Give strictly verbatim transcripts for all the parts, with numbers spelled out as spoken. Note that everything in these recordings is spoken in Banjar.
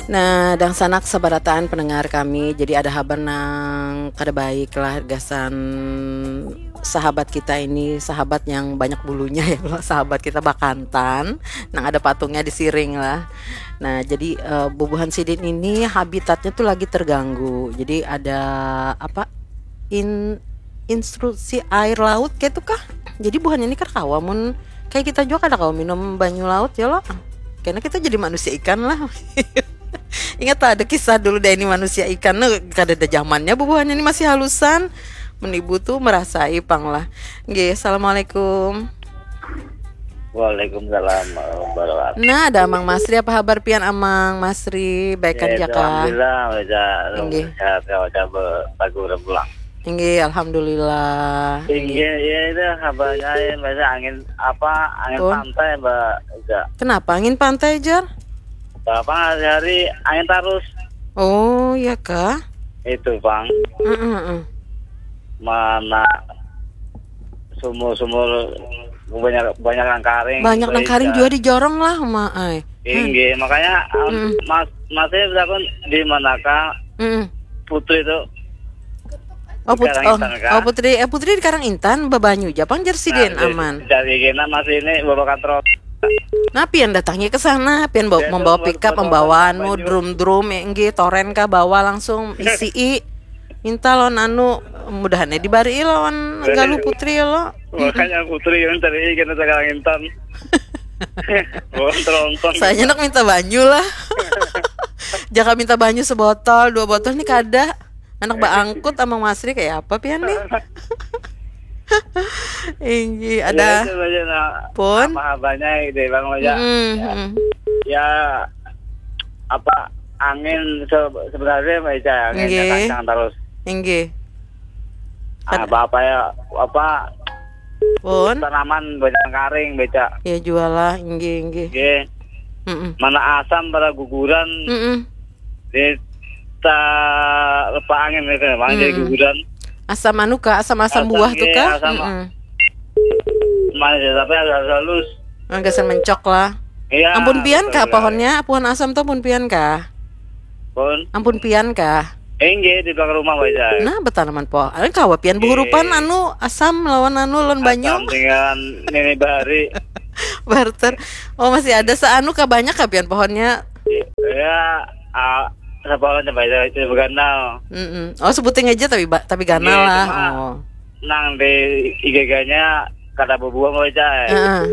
Nah, dangsanak sabarataan pendengar kami, jadi ada habar nang kada baik lah gasan sahabat kita ini, sahabat yang banyak bulunya ya, sahabat kita bakantan, nang ada patungnya di siring lah. Nah, jadi uh, bubuhan sidin ini habitatnya tuh lagi terganggu. Jadi ada apa? In instruksi air laut kayak itu kah? Jadi buhannya ini kada kawa mun kayak kita juga kada kawa minum banyu laut ya lo. Karena kita jadi manusia ikan lah. Ingat lah ada kisah dulu deh ini manusia ikan. Nah, kada ada zamannya bubuhannya ini masih halusan. Menibu tuh merasai pang lah. Nggih, assalamualaikum. Waalaikumsalam warahmatullahi wabarakatuh. Nah, ada Amang Masri, apa habar pian Amang Masri? Baik kan ya, ya kah? Alhamdulillah, wajah sehat ya, wajah bagus pulang. Inggih, alhamdulillah. Inggih, ya itu habarnya ya, biasa angin apa angin Pun? pantai mbak Eza. Kenapa angin pantai Jar? Bapak hari-hari angin tarus. Oh, ya kah? Itu bang. Mm -mm. Mana sumur-sumur banyak banyak nang karing. Banyak nang karing juga dijorong lah, ma ai. Inggih, makanya mm. Mas masih takon di manakah mm. Putu itu. Oh, put oh, oh, Putri, eh, Putri di Karang Intan, babanyu japang jar sidin nah, aman. Dari kena masih ini bawa katrol. Nah, pian datangnya ke sana, pian bawa, membawa pickup, membawa anu, drum-drum, ya, enggih, toren kah, bawa langsung isi i. Minta lawan anu, mudahannya dibari lawan galuh putri ya lo. Makanya putri yang tadi kena sekarang intan. Bontrongkong. Saya nak minta banyu lah. Jaka minta banyu sebotol, dua botol nih kada. Anak baangkut amang Masri kayak apa pian nih? Inggi ada ya, nah, pun apa habanya ide bang aja. Mm -hmm. Ya, ya apa angin se sebenarnya baca angin okay. Kencang terus. Inggi. Ah, apa apa ya apa pun tanaman banyak karing beca. Ya jualah inggi inggi. Inggi. Mm -mm. Mana asam pada guguran. Mm -mm. Di ta lepa angin itu ya, makanya hmm. Jadi guguran. Asam anu kah? Asam-asam buah tuh kah? Asam, mm -mm. Mana ya, tapi halus-halus. Anggasan mencok lah. Iya. Ampun pian kah pohonnya? Pohon asam tuh ampun pian kah? Pun. Ampun pian kah? Enggak, di belakang rumah baca. Nah, bertanaman pohon. Kawa pian buhurupan anu asam lawan anu lawan banyu. Asam dengan nini bahari. Barter. Oh, masih ada seanu kah banyak kah pian pohonnya? Ya, uh, sepalan coba aja itu ganal. Mm -mm. Oh, sebuting aja tapi tapi ganal yeah, lah. Oh. Nang di igaganya kata berbuah mau aja. Uh -uh.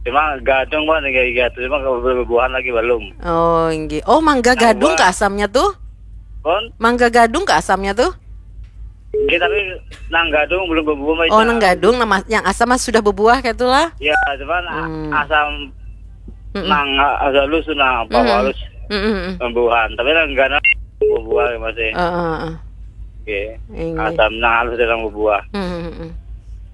Cuma gadung kan tiga tiga tuh cuma kalau buah-buahan lagi belum. Oh, inggih. Oh, mangga gadung ke asamnya tuh? Kon? Mangga gadung ke asamnya tuh? Inggih, tapi nang gadung belum berbuah. Oh, nang gadung nama yang asam mah sudah berbuah kayak itulah. Ya, cuman hmm. Asam mm -mm. Nang halus nah apa mm -mm. Halus mm -mm. Berbuahan, tapi nang gadung berbuah masih. Uh, uh, uh. Oke. Asam nang halus dan berbuah. Mm -mm.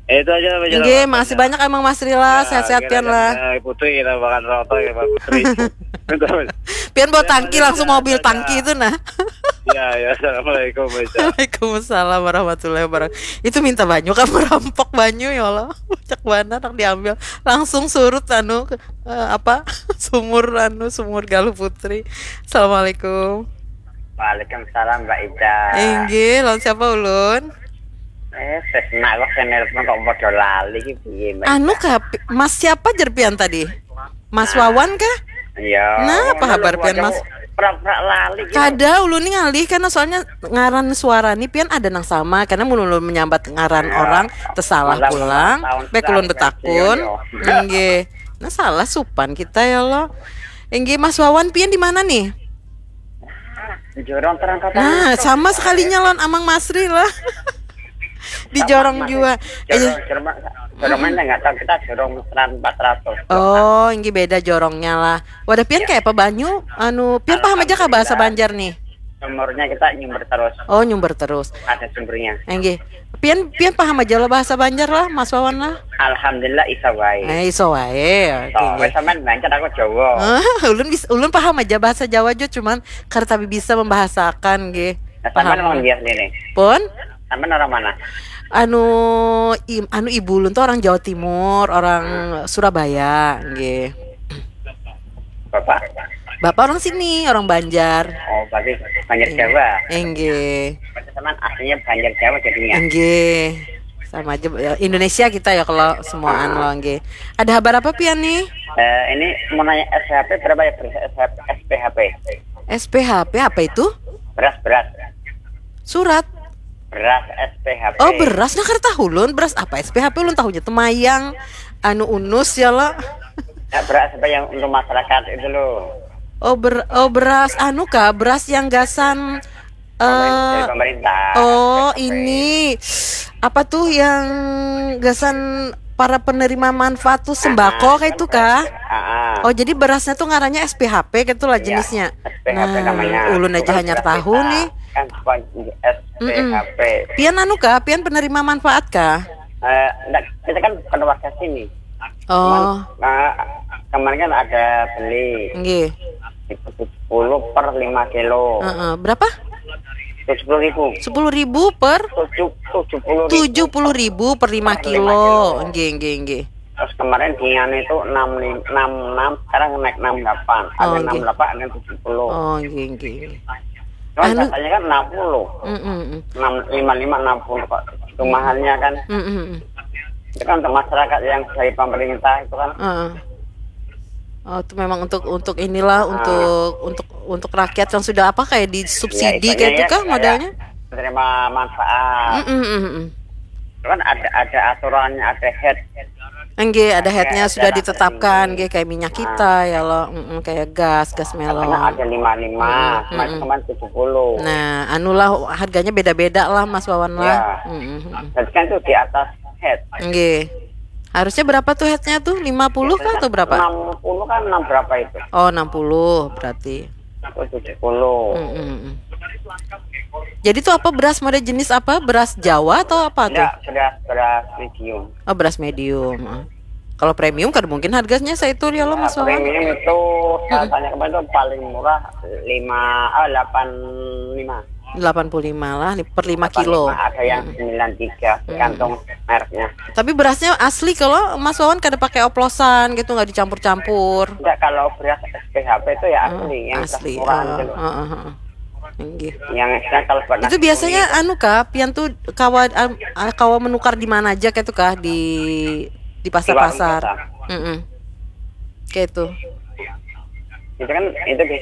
Eh, itu aja. Oke, makasih banyak emang Mas Rila, ya, sehat-sehat pian lah. Putri kita makan rokok ya Pak Putri. Pian bawa tangki langsung mobil tangki itu nah. Ya, ya, assalamualaikum. Waalaikumsalam warahmatullahi wabarakatuh. Itu minta banyu kan merampok banyu ya Allah. Cek banget nak diambil langsung surut anu uh, apa sumur anu sumur Galuh Putri. Assalamualaikum. Waalaikumsalam Mbak Ida. Inggih, lawan siapa ulun? Eh, sesna kok saya nelpon kok bodoh lali gitu. Anu kah, Mas siapa jer pian tadi? Mas nah. Wawan kah? Iya. Nah, apa habar pian Mas? Prak-prak lali. Gitu. Kada, ulun nih ngalih karena soalnya ngaran suara nih pian ada nang sama karena mun ulun menyambat ngaran ya. Orang tersalah pulang. Baik ulun betakun. Iya. Inggih. Nah, salah supan kita ya Allah. Inggih Mas Wawan pian di mana nih? Jorong terangkat. Nah, sama sekalinya lawan Amang Masri lah. Di jorong jua. Jorong, eh, jorong, jorong mana nggak tahu kita jorong seran empat ratus. Oh, ini beda jorongnya lah. Wadah pian ya. Kayak apa banyu? Anu, pian paham aja kah bahasa Banjar nih? Sumurnya kita nyumber terus. Oh, nyumber terus. Ada sumbernya. Enggih. Pian pian paham aja lo bahasa Banjar lah, Mas Wawan lah. Alhamdulillah iso wae. Eh, iso wae. Oke. Oh, sampean lancar aku Jawa. Ah, ulun bisa ulun paham aja bahasa Jawa jo cuman kada tapi bisa membahasakan nggih. Nah, paham. Sampean orang biasa ini. Pun? Sampean orang mana? Anu im, anu ibu ulun tuh orang Jawa Timur, orang hmm. Surabaya nggih. Bapak. Bapak orang sini, orang Banjar. Oh, berarti Banjar Jawa. Enggih. Berarti sama aslinya Banjar Jawa jadinya. Enggih. Sama aja, ya, Indonesia kita ya kalau semuaan lo, enggih. Ada kabar apa pian nih? Eh, ini mau nanya S P H P berapa ya, beras S P H P? S P H P apa itu? Beras, beras. Surat. Beras S P H P. Oh, beras, nah, kada tahu ulun beras apa S P H P, ulun tahunya temayang, anu, unus ya lo. Ya, beras apa yang untuk masyarakat itu loh. Oh, ber oh, beras anu kah? Beras yang gasan Dari eh pemerintah. oh, S P H P. Ini apa tuh yang gasan para penerima manfaat tuh, sembako Ah, kayak itu kan kah? beras. Ah, ah. Oh, jadi berasnya tuh ngarannya S P H P gitu lah Iya, jenisnya. S P H P Nah, namanya. Ulun aja Bukan hanya beras tahu kita. Nih. Kan bukan S P H P. Pian anu kah? Pian penerima manfaat kah? Eh, enggak, kita kan bukan warga sini. Oh, Nah, kemarin kan ada beli nggih. Itu tujuh puluh per lima kilo. Heeh. Berapa? Tujuh puluh ribu. Sepuluh ribu per Tujuh tujuh puluh ribu. Tujuh puluh ribu per lima Per lima kilo. kilo. Nggih, nggih, nggih. Terus kemarin di anu itu enam enam, sekarang naik enam delapan. Ada Oh, enam delapan, ada tujuh puluh. Oh, nggih, nggih, nggih. Cuman Anu- biasanya kan enam puluh. Mm, mm, mm. Enam lima lima, enam puluh kok. Itu mahalnya kan. Mm, mm, mm. Itu kan untuk masyarakat yang dari pemerintah itu kan. Heeh. Oh, itu memang untuk untuk inilah, untuk untuk untuk rakyat yang sudah apa, kayak disubsidi Ya, kayak itu ya, kah kayak modalnya? Menerima manfaat. Mm, mm, mm, mm. Itu kan ada ada aturannya, ada head. Enggak, ada headnya Ada sudah aturan ditetapkan, ini. Nggih, kayak minyak kita ya lo, mm, kayak gas, gas melon. Karena ada lima lima, Mm, kemarin mm. Kemarin tujuh puluh. Nah, anulah, harganya beda-beda lah, Mas Wawan lah. Ya. Mm, mm, mm. Jadi kan itu di atas head. Nggih. Harusnya berapa tuh headnya tuh? Lima puluh kah atau berapa? Enam puluh kan enam berapa itu? Oh, enam puluh berarti. Itu tujuh puluh. Mm, mm, mm. Jadi tuh apa beras, model jenis apa? Beras Jawa atau apa tuh? Enggak, beras beras medium. Oh, beras medium. Ah. Kalau premium kan mungkin harganya saitu ya lo, Nah, Mas Wawan. Premium itu rasanya kemarin itu paling murah lima, ah, delapan lima. Delapan puluh lima lah nih, per lima kilo. Ada yang sembilan tiga, tergantung mereknya. Tapi berasnya asli kalau, Mas Wawan, kada pakai oplosan gitu, nggak dicampur-campur. Enggak, kalau beras S P H P itu ya asli, yang Asli. murah Ah, gitu loh. ah, ah, ah. Nggih. Yang kan kalau buat Itu nasi biasanya kuning, anu kah, pian tuh kawa am- ah, kawa menukar di mana aja kayak itu kah, di di di warung pasar-pasar? biasa. Mm-mm. Kayak itu. Itu kan itu biasanya